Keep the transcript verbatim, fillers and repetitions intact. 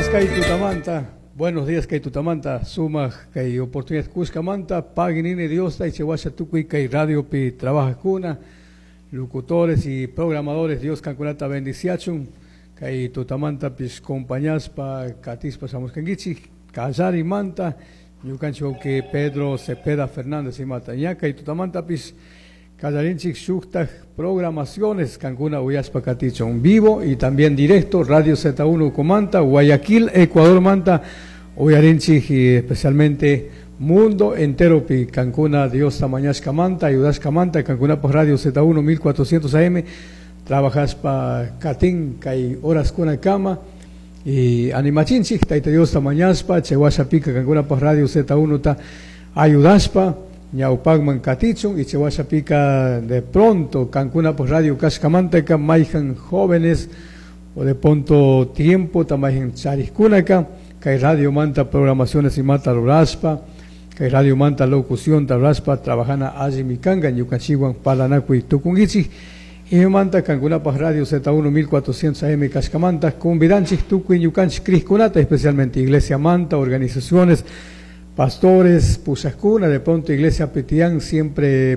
Días, kay tutamanta. Buenos días, kay tutamanta. Sumaj kay oportunidad cushkamanta. Pagui nini Diosta y chawasha tukuy kay radiopi trabajajkuna. Locutores y programadores, Dios kankunata bendiciachun. Kay tutamantapish compañaspa katispa shamushkankichik. Kallarimanta. Ñukanchik que Pedro Cepeda Fernández imata. Ña kay tutamantapish kallarinchik shuktaj programaciones kankuna uyashpa katichun vivo y también directo Radio Z uno Comanta, Guayaquil, Ecuador manta uyarinchik y especialmente mundo entero pi kankuna Diosta mañashkamanta, ayudashkamanta, kankunapaj Radio Z uno mil cuatrocientos A M trabajashpa katin kay horaskunakama y animachinchik Tayta Diosta mañashpa chay washapika kankunapaj Radio Z uno ta ayudashpa ñawpakman katichun y chay washapika de pronto kankunapaj radio kashkamantaka mayjan jóvenes o de pronto tiempo ta mayjan charijkunaka kay radio manta programaciones imata rurashpa, kay radio manta locución rurashpa trabajana allimi kanka ñukanchikwan parlanakuy tukunkichik. Imamanta kankunapaj Radio Z uno mil cuatrocientos A M kashkamanta convidanchik tukuy ñukanchik crijkunata, especialmente iglesia manta, organizaciones, pastores, pushajkuna, de pronto iglesia pi tiyan siempre.